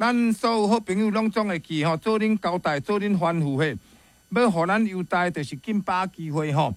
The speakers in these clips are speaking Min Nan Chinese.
咱所有好朋友攏總會記吼，做恁交代，做恁吩咐嘿，欲予咱優待就是緊把握機會吼。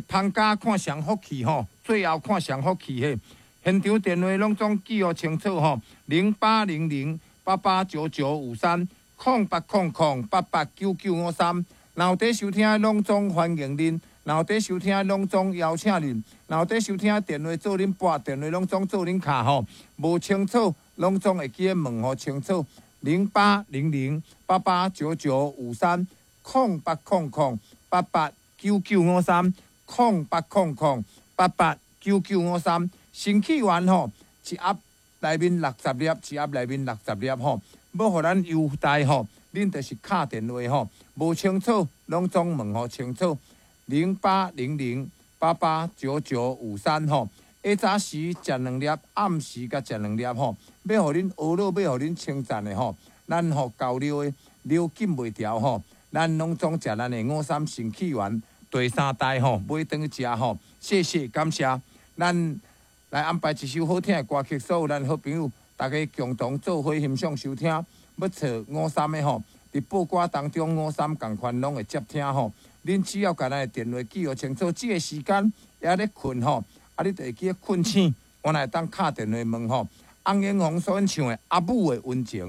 放假看誰福氣吼，最後看誰福氣嘿。現場電話攏總記予清楚吼，0800889953，0800889953。若有佇收聽，攏總歡迎恁；若有佇收聽，攏總邀請恁；若有佇收聽，電話做恁撥，電話攏總做恁敲吼。無清楚，攏總會記得問予清楚。0800889953，0800889953，0800889953。新起源吼，一盒內面六十粒，一盒內面六十粒吼，欲予咱優待吼，恁就是敲電話吼，無清楚攏總問予清楚。0800889953吼，下早時食兩粒，暗時閣食兩粒吼，欲予恁呵咾，欲予恁稱讚的吼，咱吼厚尿的尿禁袂牢吼，咱攏總食咱的五三新起源第三代吼，買轉去食吼，謝謝感謝，咱來安排一首好聽的歌曲，所有咱好朋友，大家共同做伙欣賞收聽。欲揣五三的吼，佇報歌當中五三仝款攏會接聽吼。恁只要共咱的電話記予清楚，這個時間猶咧睏吼，啊，你就會記得睏醒，原來會當敲電話問吼。翁永紅所演唱的《阿母的溫情》。